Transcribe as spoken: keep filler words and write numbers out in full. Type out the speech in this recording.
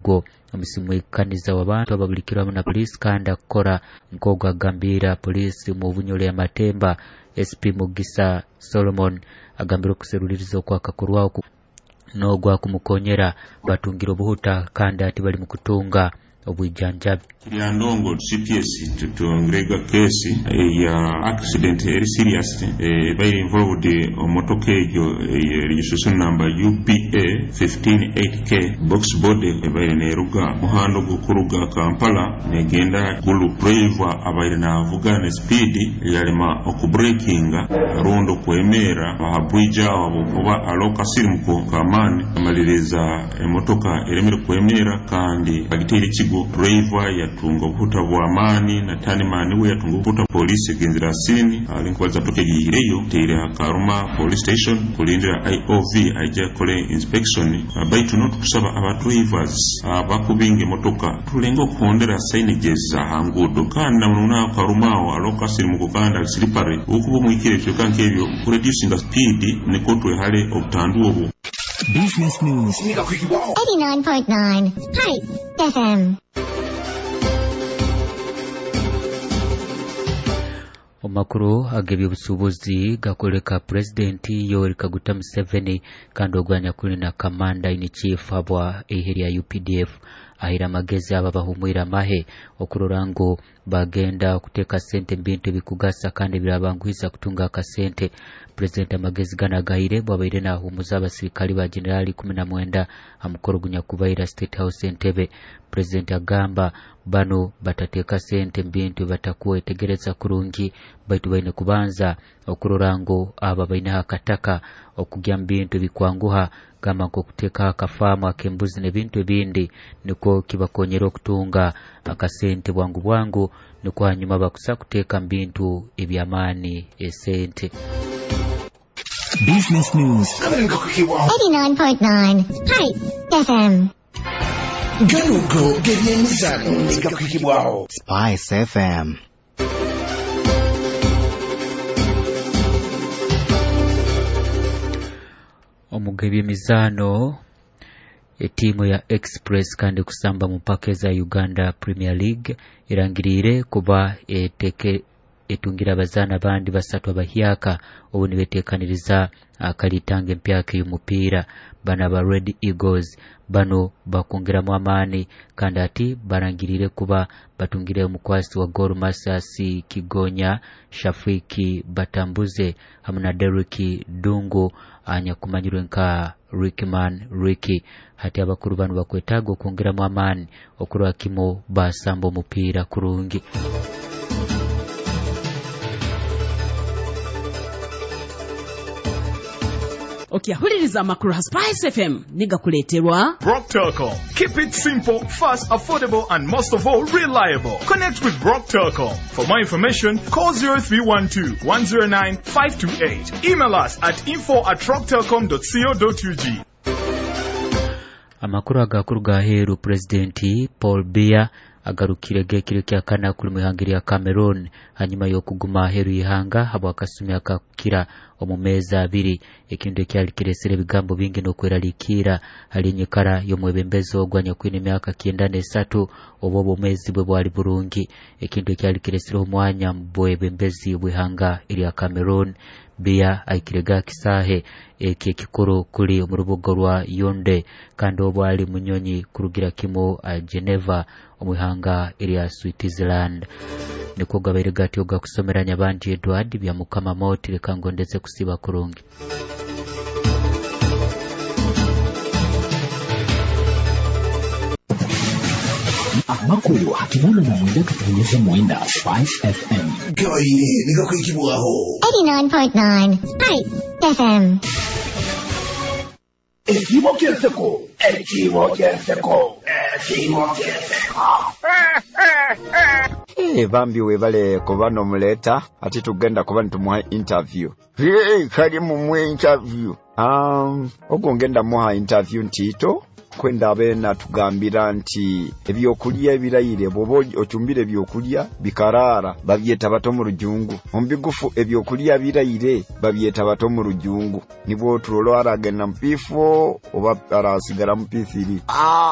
Ogwo omusimwikaniza w'abantu ababulikirwe hamu na poliisi kandi akukora nk'ogu agambira poliisi mu Bunyole ya Matemba S P Mugisa Solomon agambira okuseruliriza okwakakorwaho n'ogwo akumukonyera batungire obuhuta kandi ati bali mu kutunga obwijanjabi. Kiryandongo C P S tutongirega kesi ya accident eri serious ebaire involved omotoka egyo registration number U B A fifteen eight K box body ebaire neruga muhando gukuruga Kampala negenda Gulu. Driver abaire navuga ne speed yalema okubreakinga rundo kwemera aha bridge aho kuba aloka sirimuko kamani amaliriza emotoka eremere kwemera kandi agiteire kigo. Driver yatunga obuhuta bwa maani na tanimani we yatunga obuhuta. Police egenzera sini alinkubaza toke gihireyo teire Karuma police station kulindira I O V aija kole inspection. Baitu no tukusaba aba drivers abakubinga emotoka tulenga okuhondera signages za hangudo kandi na mununa Karuma aho aloka sirimuko kandi alisilipare ukuba mwikire ebyo kankebyo reducing the speed niko twehale obutandu obu. Business News eighty-nine point nine Spice F M. Omakuru ag'ebyobusuubuzi gakoleka Pulezidenti Yoweri Kaguta Museveni kandi ogwanya kuli na Commander in Chief abwa ihe lya U P D F ahira amagezi aba bahumwira amahe okurora ngu bagenda okuteeka sente mu bintu ebikugasa kandi birabanguhiza kutunga akasente. Pulezidenti amagezi gana agahire bwabaire nahumuza abasirikali ba Generali kumi na mwenda amukoro gunyakubaira State House Entebbe. Pulezidenti agamba bano batateeka sente mu bintu batakuwetegereza kurungi baitu baine kubanza okurora ngu aba baineho akataka okugya mu bintu bikwanguha gamba nk'okuteeka akafaamu ak'embuzi n'ebintu ebindi nikwo kibakonyera okutunga akasente bwangu bwangu nikwo hanyuma bakusa kuteeka mu bintu eby'amaani esente. Business News eighty-nine point nine Spice F M. Ganugo gebyemizano negakwikibwaho Spice F M. Omugebi emizano etimu ya Express kandi kusamba mu mpaka za Uganda Premier League irangirire kuba eteke etungira abazana abandi basatu abahyaka obu nibetekaniriza akalitanga empyaka y'omupiira. Bana ba Red Eagles bano bakongeramu amaani kandi ati barangirire kuba batungire omukwasi wa Gor Masasi Kigonya Shafiki Batambuze hamwe na Derrick Dungu anyakumanyirwe nka Rickman Ricky. Hati abakuru bano bakwetaaga okwongeramu amaani okurwa kimo basamba omupiira kurungi. Okyahuliriza amakuru ha Spice F M nigakuleeterwa Rock Telcom. Keep it simple, fast, affordable and most of all reliable. Connect with Rock Telcom. For more information, call zero three one two, one zero nine, five two eight. Email us at info at rocktelcom dot co dot U G. Amakuru agakuru gaheru Presidenti Paul Biya agarukire gekiro kya kana kuli muhangiri ya Cameroon hanyuma y'okuguma aheru ihanga habwa akasumi akakira omu mezi abiri ekintu ekyali kiresere ebigambo bingi n'okweraliikira hali enyikara y'omwebembezi ogwo anyakwine emyaka kyenda n'esatu oba obwomeezi bwe bwali burungi ekintu ekyali kiresere omwanya mu bwebembezi bw'ihanga erya Cameroon. Biya aikirega kisahe eki ekikuru kuli omu rubuga rwa Yaounde kandi obwo ali munyonyi kurugira kimu Geneva omu ihanga erya Switzerland. Nikwo gabaire gatyo gakusomera Nyabangi Edward bya Mukama Moti reka ngondeze kusiba kurungi. Amakuru hakinana na mwenda katonyeza mwenda Spice F M. Gabaire nigakwikibwaho eighty-nine point nine Spice F M. Ekibo ky'enseko, ekibo ky'enseko, ekibo ky'enseko. Eh, bambi webale kuba n'omuleeta ate tugenda kuba nitumuha interview. Hey, kali mumuhe interview. Um, ogwo ngenda muha interview ntiito kwenda abe natugambira nti ebyokulya ebirayire bw'oba ocumbire ebyokulya bikaraara babyeta bato mu rujungu. Omu bigufu ebyokulya birayire babyeta bato mu rujungu. Nibwo turolo aragenda mu P four oba arasigara mu P three. Ah!